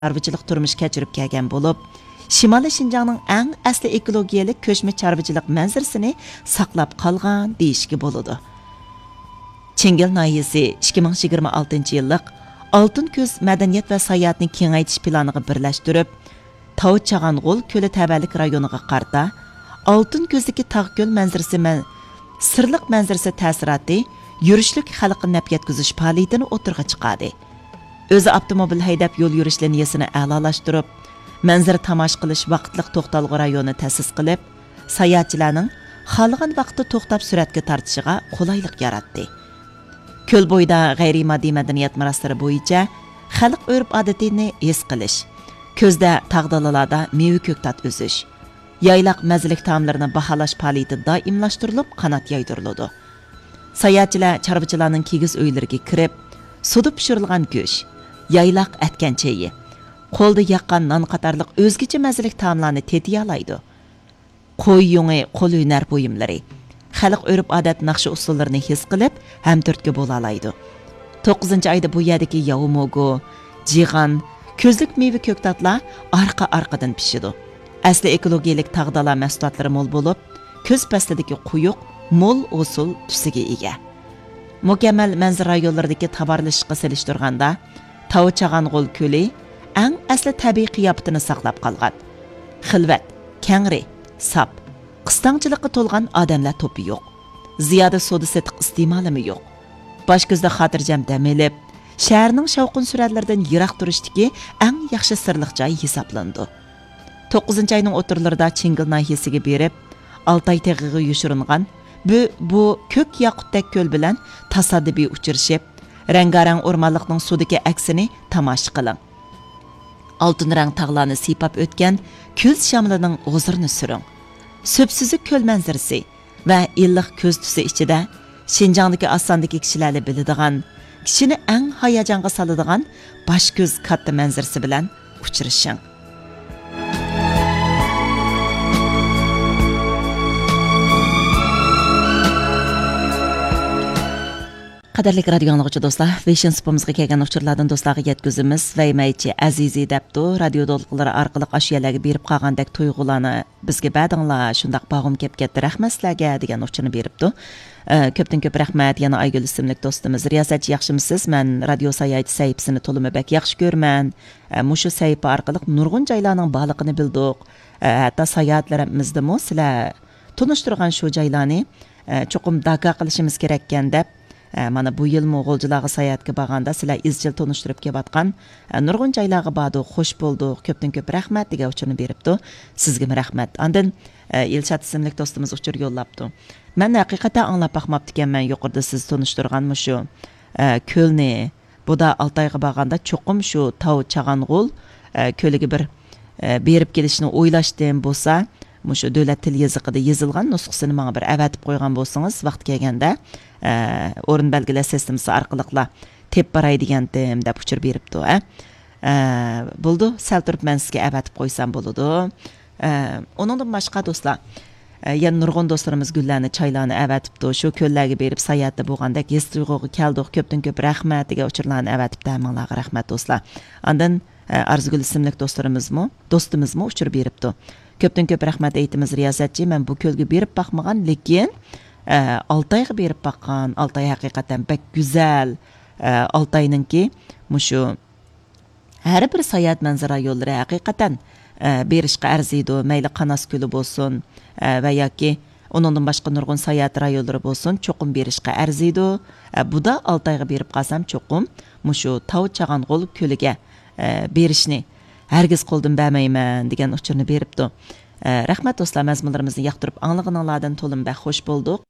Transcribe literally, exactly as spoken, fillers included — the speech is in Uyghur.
چارۋىچىلىق تۇرمۇش كەچۈرۈپ كەلگەن بولۇپ، شىمالىي شىنجاڭنىڭ ئەڭ ئەسلى ئېكولوگىيەلىك كۆچمە چارۋىچىلىق مەنزىرىسىنى ساقلاپ قالغان دېيىشكە بولىدۇ. چىڭگىل ناھىيەسى ئىككى مىڭ يىگىرمە ئالتىنچى يىللىق ئالتۇن كۈز مەدەنىيەت ۋە ساياھەتنى كېڭەيتىش پىلانىغا بىرلەشتۈرۈپ، تاۋ چاغانغول كۆلى تەۋەلىك رايونىغا قارىتا ئالتۇن كۈزدىكى تاغ كۆل مەنزىرىسى مەن-، سىرلىق مەنزىرىسى تەسىراتى يۈرۈشلۈك خەلققە نەپ يەتكۈزۈش پائالىيىتىنى ئوتتۇرىغا چىقاردى. ئۆزى ئاپتوموبىل ھەيدەپ يول يۈرۈش لىنىيەسىنى ئەلالاشتۇرۇپ، مەنزىرە تاماشا قىلىش ۋاقىتلىق توختالغۇ رايونى تەسىس قىلىپ، ساياھەتچىلەرنىڭ خالىغان ۋاقىتتا توختاپ سۈرەتكە تارتىشىغا قولايلىق ياراتتى. كۆل بويىدا غەيرىي ماددىي مەدەنىيەت مىراسلىرى بويىچە خەلق ئۆرپ-ئادىتىنى ھېس قىلىش، كۈزدە تاغ دالىلاردا مېۋە-كۆكتات ئۈزۈش، يايلاق مەززىلىك تائاملىرىنى باھالاش پائالىيىتى دائىملاشتۇرۇلۇپ، قانات يايدۇرۇلىدۇ. ساياھەتچىلەر چارۋىچىلارنىڭ كىگىز ئۆيلىرىگە كىرىپ، سۇدا پىشۇرۇلغان گۆش، يايلاق ئەتكەن چېيى، قولدا ياققان نان قاتارلىق ئۆزگىچە مەززىلىك تائاملارنى تېتىيالايدۇ. قوي يۇڭى قول ھۈنەر بۇيۇملىرى، خەلق ئۆرپ-ئادەت ناخشا-ئۇسسۇللىرىنى ھېس قىلىپ، ھەمتۈرتكە بولالايدۇ. توققۇزىنچى ئايدا بۇ يەردىكى ياۋا موگۇ، جىغان، كۈزلۈك مېۋە-كۆكتاتلار ئارقا-ئارقىدىن پىشىدۇ. ئەسلى ئېكولوگىيەلىك تاغ-دالا مەھسۇلاتلىرى مول بولۇپ، كۈز پەسلىدىكى قويۇق، مول ھوسۇل تۈسىگە ئىگە. مۇكەممەل مەنزىرە رايونلىرىدىكى تاۋارلىشىشقا سېلىشتۇرغاندا، تاۋ چاغانغول كۆلى ئەڭ ئەسلى تەبىئىي قىياپىتىنى ساقلاپ قالغان. خىلۋەت، كەڭرى، ساپ، قىستاڭچىلىققا تولغان ئادەملەر توپى يوق. زىيادە سودا-سېتىق ئىستېمالىمۇ يوق. باش كۆزدە خاتىرجەم دەم ئېلىپ، شەھەرنىڭ شاۋقۇن-سۈرەنلىرىدىن يىراق تۇرۇشتىكى ئەڭ ياخشى سىرلىق جاي ھېسابلىنىدۇ. توققۇزىنچى ئاينىڭ ئوتتۇرىلىرىدا چىڭگىل ناھىيەسىگە بېرىپ، ئالتاي تېغىغا يوشۇرۇنغان بۇ، بۇ كۆك ياقۇتتەك كۆل بىلەن تاسادىپىي ئۇچرىشىپ، رەڭگارەڭ ئورمانلىقنىڭ سۇدىكى ئەكسىنى تاماشا قىلىڭ. ئالتۇن رەڭ تاغلارنى سىيپاپ ئۆتكەن كۈز شامىلىنىڭ ھۇزۇرىنى سۈرۈڭ. سۈپسۈزۈك كۆل مەنزىرىسى ۋە ئىللىق كۈز تۈسى ئىچىدە شىنجاڭدىكى ئاز ساندىكى كىشىلەرلا بىلىدىغان، كىشىنى ئەڭ ھاياجانغا سالىدىغان باش كۆز كاتتا مەنزىرىسى بىلەن ئۇچرىشىڭ. قەدىرلىك رادىيو ئاڭلىغۇچى دوستلار، ۋېشىن سۇپىمىزغا كەلگەن ئۇچۇرلاردىن دوستلارغا يەتكۈزىمىز. ۋەيمەيچى ئەزىزى دەپتۇ، رادىيو دولقۇنلىرى ئارقىلىق ئاشۇ يەرلەرگە بېرىپ قالغاندەك تۇيغۇلارنى بىزگە بەردىڭلار، شۇنداق بارغۇم كەپ كەتتى، رەھمەت سىلەرگە، دېگەن ئۇچۇرنى بېرىپتۇ. ئە، كۆپتىن كۆپ رەھمەت. يەنە ئايگۈل ئىسىملىك دوستىمىز، رىياسەتچى ياخشىمۇسىز؟ مەن رادىيو ساياھىتى سەھىپىسىنى تولىمۇ بەك ياخشى كۆرىمەن. ئە، مۇشۇ سەھىپە ئارقىلىق نۇرغۇن جايلارنىڭ بارلىقىنى بىلدۇق. ئە، ھەتتا ساياھەتلىرىمىزدىمۇ سىلەر تونۇشتۇرغان شۇ جايلارنى، ئە، چوقۇم داكا قىلىشىمىز كېرەككەن دەپ، ئە، مانا بۇ يىلمۇ غۇلجىلارغا ساياھەتكە بارغاندا سىلەر ئىزچىل تونۇشتۇرۇپ كېلىۋاتقان، ئە، نۇرغۇن جايلارغا باردۇق، خوش بولدۇق، كۆپتىن كۆپ رەھمەت، دېگەن ئۇچۇرنى بېرىپتۇ. سىزگىمۇ رەھمەت. ئاندىن، ئە، ئىلشات ئىسىملىك دوستىمىز ئۇچۇر يوللاپتۇ. مەن ھەقىقەتەن ئاڭلاپ باقماپتىكەنمەن يۇقىرىدا سىز تونۇشتۇرغان مۇشۇ، ئە، كۆلنى. بۇدا ئالتايغا بارغاندا چوقۇم شۇ تاۋ چاغانغول، ئە، كۆلىگە بىر، ئە، بېرىپ كېلىشنى ئويلاشتىم بولسا، مۇشۇ دۆلەت تىل يېزىقىدا يېزىلغان نۇسخىسىنى ماڭا بىر ئەۋەتىپ قويغان بولسىڭىز، ۋاقتى كەلگەندە، ئە، ئورۇن بەلگىلەش سىستېمىسى ئارقىلىقلا تېپىپ باراي دېگەنتىم، دەپ ئۇچۇر بېرىپتۇ، ئە. ئە، بولىدۇ، سەل تۇرۇپ مەن سىزگە ئەۋەتىپ قويسام بولىدۇ. ئە، ئۇنىڭدىن باشقا دوستلار، ئە، يەنە نۇرغۇن دوستلىرىمىز گۈللەرنى، چايلارنى ئەۋەتىپتۇ. شۇ كۆللەرگە بېرىپ ساياھەتتە بولغاندەك ھېس-تۇيغۇغا كەلدۇق، كۆپتىن كۆپ رەھمەت، دېگەن ئۇچۇرلارنى ئەۋەتىپتۇ. ھەممىڭلارغا رەھمەت دوستلار. ئاندىن، ئە، ئارزۇگۈل ئىسىملىك دوستلىرىمىزمۇ، دوستىمىزمۇ ئۇچۇر بېرىپتۇ. كۆپتىن كۆپ رەھمەت ئېيتىمىز رىياسەتچى، مەن بۇ كۆلگە بېرىپ باقمىغان، لېكىن، ئە، ئالتايغا بېرىپ باققان. ئالتاي ھەقىقەتەن بەك گۈزەل. ئە، ئالتاينىڭكى مۇشۇ ھەر بىر ساياھەت مەنزىرە رايونلىرى ھەقىقەتەن، ئە، بېرىشقا ئەرزىيدۇ. مەيلى قاناس كۆلى بولسۇن، ئە، ۋە ياكى ئۇنىڭدىن باشقا نۇرغۇن ساياھەت رايونلىرى بولسۇن، چوقۇم بېرىشقا ئەرزىيدۇ. ئە، بۇدا ئالتايغا بېرىپ قالسام، چوقۇم مۇشۇ تاۋ چاغانغول كۆلىگە، ئە، بېرىشنى ھەرگىز قولدىن بەرمەيمەن، دېگەن ئۇچۇرنى بېرىپتۇ. ئە، رەھمەت دوستلار، مەزمۇنلىرىمىزنى ياقتۇرۇپ ئاڭلىغىنىڭلاردىن تولىمۇ بەك خوش بولدۇق.